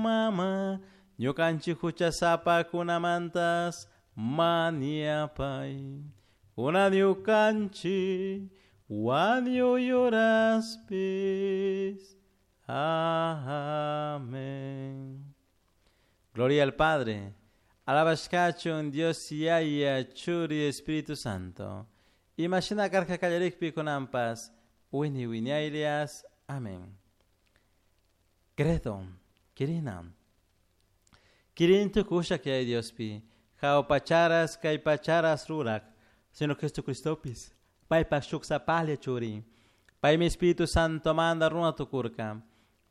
Mama, ñukanchik huchasapakunamantas mañapay. Kunan ñukanchik wañuy horaspis. Amén. Gloria al Padre. Alabashkachun Dios Yaya Churi Espíritu Santo. Imashina karka kallarikpi kunanpas wini wiñaylias. Amén. Credo, Kirina. Kirin tukusha kay Diospi. Jao pacharas kay pacharas rurak. Sino Jesucristopis. Paypak shuk sapalla churi. Paymi Espíritu Santo manda runa tukurka.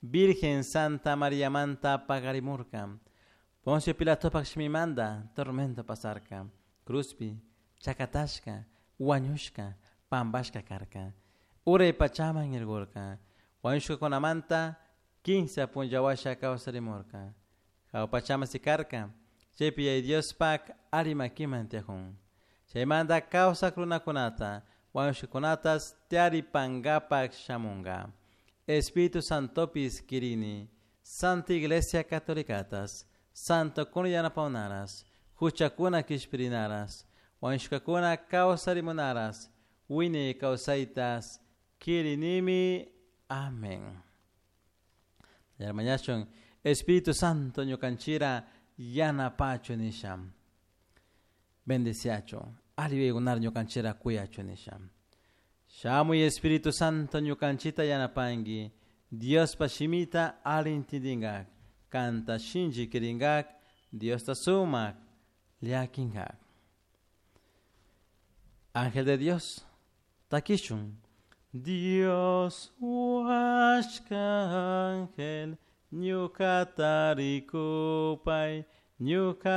Virgen Santa María manta pagarimurka. Poncio Pilatopak shimimanda tormento pasarka. Cruzpi, chakatashka, huañushka, pambashka karka. Uray pachaman irgurka. Wañushkakunamanta kinsa punllawasha kawsarimurka. Jahua pachaman sikarka. Chaypi Yaya Diospak alli makiman tiyajun. Chaymanta kawsak runakunata, wañushkakunatas tiyaripankapak shamunka. Espíritu Santopis kirini, Santa Iglesia Catolicatas, Santo kuna yanapawnaras, huchakuna kishpirinaras, wañushkakuna kawsarimunaras, wiñay kawsaytas kirinimi. Amén. Yarmañachun, Espíritu Santo ñukanchira yanapachu nisha. Bendeciachu, alli yuyaykunar ñukanchira kuyachu nisha. Shamuy Espíritu Santo ñukanchita yanapanki, Diospa shimita alli intindingak, kanta shinchi kiringak, Diosta sumak llakinkak. Ángel de Dios, takishun. Dios huashka ángel, ñukata rikupay, ñuka.